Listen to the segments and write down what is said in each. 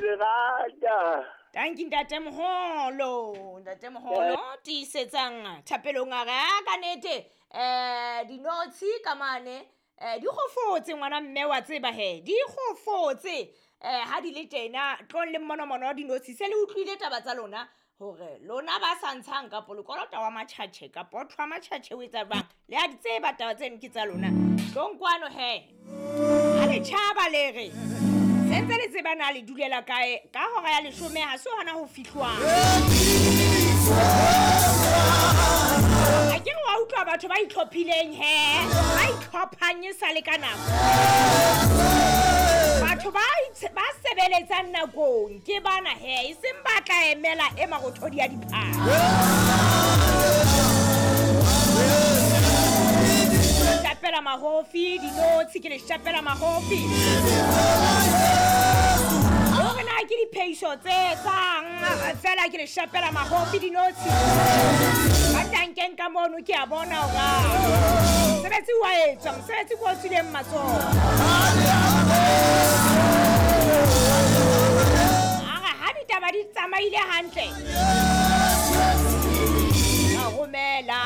le rata. Tanki ntatemoholo, ntatemoholo tiisetsang thapelong a re a ka nete dinotshi ka mane di kgofotse ngwana mme wa tseba he di kgofotse ha di le tjena tlong le mmonomono wa dinotshi se le utlwile taba tsa lona hore lona ba sa ntshang kapo lekolota wa matjhatjhe kapo o thwa matjhatjhe o etsa jwang le a di tseba taba tseno ke tsa lona tlong kwano he ha le tjhaba le re sentse le tseba na le dulela kae ka hora ya 10 ha se hona ho fihlwang. A ke re wa utlwa batho ba itlhophileng he ba itlhophang e sa le ka nako. Batho ba sebeletsang nakong ke bana he e seng ba tla emela e marothodi ya diphahlo. Shapela mahofi dinotshi ke le shapela mahofi. Hore na ke diphehiso tse tsang fela ke le shapela mahofi dinotshi. Ba tankeng ka mono ke a bona hore mosebetsi wa etswa, mosebetsi ko o tswileng matsoho. Ara ha ditaba di tsamaile hantle a romela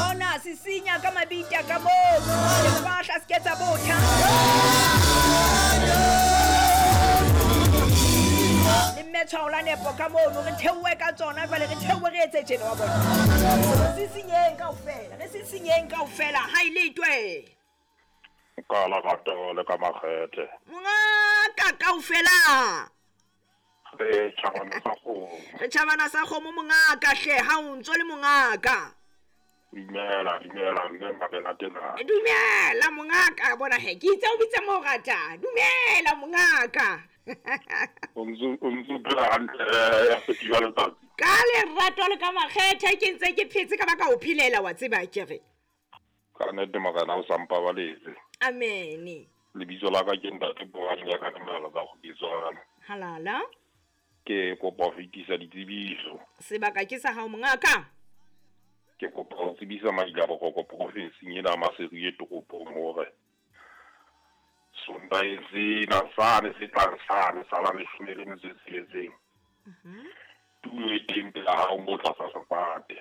ona sisinya ka mabita ka moo le fahla se ketsa botha le mmetshwao la nepo ka mono re theohe ka tsona jwale re theohe re etse tjena wa bona. Re sisinyeng kaofela, re sisinyeng kaofela ha e letwe. Ka la rata le ka makgethe. Mongaka kaofela. Re tjhabana sa kgomo. Re tjhabana sa kgomo mongaka hle ha o ntso le mongaka. Dumela, dumela mme mabela tena. Dumela mongaka bona he ke itse o bitsa mo rata. Dumela mongaka. O ntso phela hantle ya festival letsatsi. Ka lerato le ka makgethe ke ntse ke phetse ka baka o phelela wa tseba ke re. Ka nnete morena o sa mpabaletse. Amen. Lebitso la ka ke ntate Borane ya ka dumela ka go bitswana. Halala. Ke kopa ho fetisa ditsebiso. Sebaka ke sa hao mongaka. Ke kopa ho tsebisa maila boroko profinseng ena Maseru e toropong hore Sontaha sena sane se tlang sane sa la 16. Tulo e teng pela hao mo tlasa sefate.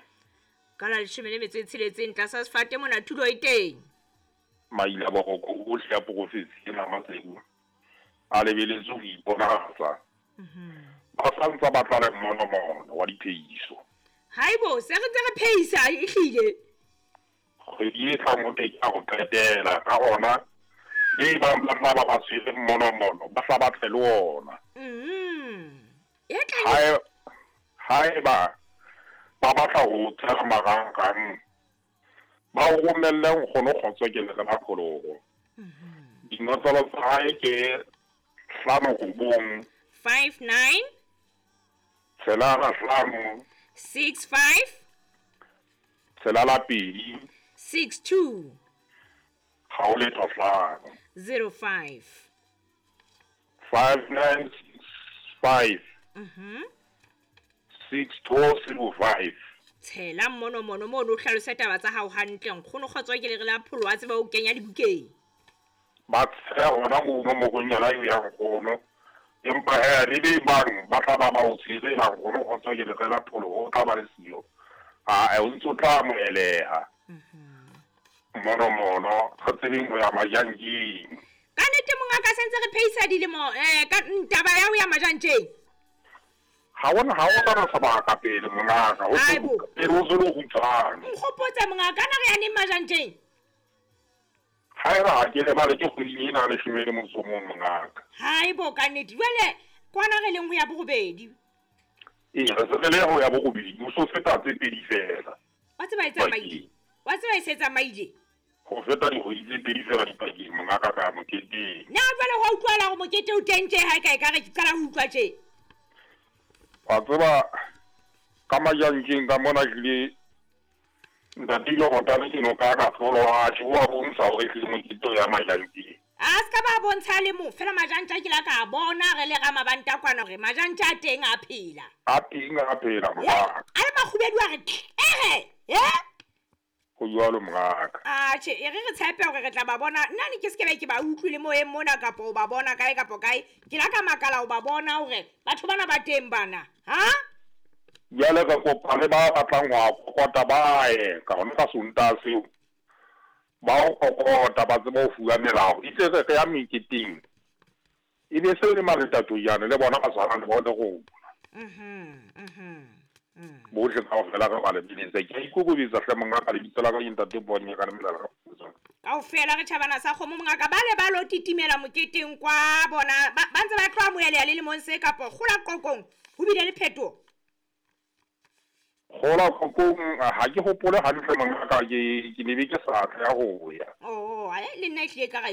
Ka la 16 tlasa sefate mona tulo e teng. Maila boroko ohle ya profinsi ena Maseru a lebeletse ho iponahatsa. Ba sa ntsa ba tla le mmonomono wa diphehiso. Haibo se re ntse re phehisa e hlile. Kgwedi e tlang ho teng ya ho qetela ka ona le bang ba tla ba ba tshwere mmonomono ba sa batle le ona. E tla haeba ba batla ho tshela marangrang ba o romelle nkgono Kgotso ke le ba pholoho. Dinotlolo tsa hae ke 5 9 59 6 5 6 5 6 2 6 2 ha o letho 5 0 5 5 9 6 5 6 2 0 5. Tshela mmonomono mono o hlalose taba tsa hao hantle nkgono Kgotso ke le re la pholo wa tseba o kenya dibukeng. Ba tshela hona mono morong yena eo ya nkgono empa he le be bang ba tla ba ba o tshwere ba nkgono Kgotso ke le re la pholo o tla ba le siyo. A o ntso tla amoheleha. Mmonomono re tsebeng ho ya majantjeng. Ka nnete mongaka sentse re phehisa dilemo ka taba ya ho ya majantjeng. Ha ona sebaka pele mongaka o pele o tswele ho kgutshwane. Nkgopotse mongaka na re ya neng majantjeng? Haeba ha ke lebale ke kgweding ena 11 mongaka. Haibo ka nnete jwale kwana re leng ho ya borobedi. Ee re se re le ho ya borobedi o so feta tse pedi fela. Wa tseba e tsamaile. Wa tseba e se tsamaile. Ho feta dikgwedi tse pedi fela dipakeng mongaka ka moketeng. Na jwale ho utlwala hore mokete o teng tje ha e ka e ka re ke qala ho utlwa tje. Wa tseba ka majantjeng ka mona hlile ntate ile go tana ke no ka ka tlolo a tjho wa bontsha hore hlile mokete ya majantjeng. A se ka ba bontsha le mo fela majantja ke la ka bona re le ra mabanta kwana hore majantja a teng a phela. A teng a phela mongaka. A le makgubedu a re ere. Ho jwalo mongaka. Atjhe, e re re tshepe hore re tla ba bona. Nna ne ke se ke be ke ba utlwile moyeng mona kapa o ba bona kae kapa kae. Ke la ka makala ho ba bona hore batho bana ba teng bana. Ha? Jwale re kopa le ba batlang ho a kokota ba ye ka hona ka Sontaha seo. Ba o kokota ba tsebe ho fuwa melao. Itse re re ya meketeng. E be se le maletatojane le bona ba tshwana le bone rona. Bohle kaofela re ba lebeletse. Ke a ikokobetsa hle mongaka, lebitso la ka ke Ntate Ponye ka Lemelala ka Kgotsong. Kaofela re tjhabana sa kgomo mongaka, ba le ba lo titimela moketeng kwa bona ba ntse ba tlo amoheleha le lemong se kapo kgola qoqong ho bile le phetoho. Kgola qoqong ha ke hopole hantle mongaka, ke ne be ke sa tla ho ya. Oh, le nna ehlile ka ha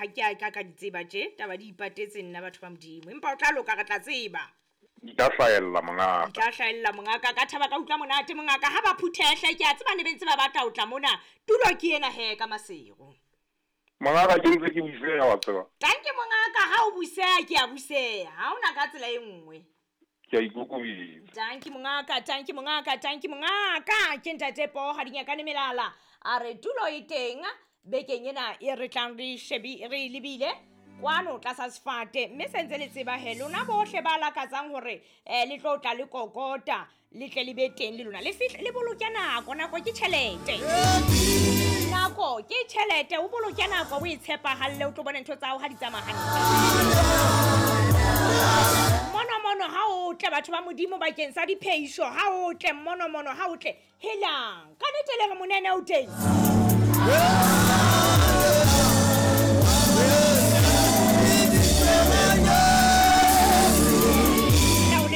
ke a ka di tseba tje, taba di ipatetse nna batho ba Modimo. Empa o tla loka re tla tseba. Di tla hlahella mongaka. Di tla hlahella mongaka, ka thaba ka utlwa monate mongaka ha ba phuthehle ke a tseba ne be ntse ba batla ho tla mona. Tulo ke ena he ka Maseru. Mongaka ke ntse ke buseha wa tseba. Tanke mongaka ha o buseha ke a buseha, ha ona ka tsela e nngwe. Ke a ikokobetsa. Tanki mongaka, tanki mongaka, tanki mongaka. Ke Ntate Poho Dinyakane Melala. A re tulo e teng bekeng ena e re tlang re shebi re lebile kwano tlasa sefate, mme se ntse le tseba he lona bohle ba lakatsang hore le tlo tla le kokota le tle le be teng le lona le fihle le boloke nako. Nako ke tjhelete, nako ke tjhelete, o boloke nako o e tshepahalle o tlo bona ntho tsa hao ha di tsamaya hantle. Mono mono ha o tle batho ba Modimo bakeng sa diphehiso, ha o tle mono mono ha o tle helang ka nnete le re monene o teng.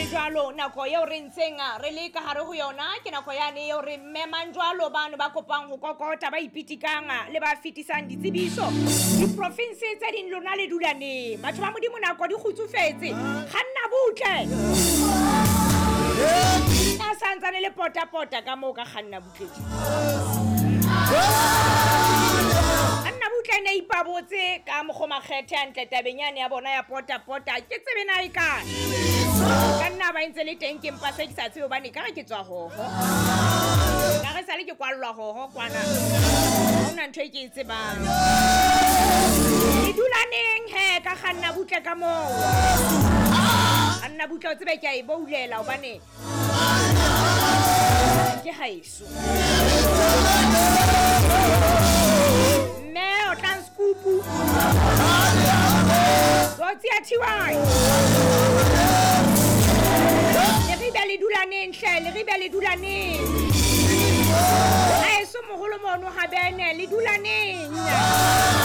Jwalo nako eo re ntseng re le ka hare ho yona ke nako yane eo re memang jwalo bano ba kopang ho kokota ba ipitikang le ba fetisang ditsebiso diprovince tse ding lona le dula neng. Batho ba Modimo nako di kgutsufetse, kganna butle a santsane le potapota ka moo ka kganna butle. Kganna butle ne ipabotse ka mokgwa makgethe hantle tabeng yane ya bona ya potapota ke tsebe na e kae. Ka nna ba ntse le teng ke mpa se ke sa tsebe hobane ka re ke tswa hoho. Ka re sale ke kwallwa hoho kwana. Ha hona ntho e ke e tsebang. Ke dula neng he ka kganna butle ka moo. Kganna butle o tsebe ke a e boulela hobane ke haeso. Mme o tla nskupu. Tsotsi ya TY. Le re dula neng hle, le re le dula neng. Haeso moholo mono ha bene le dula neng.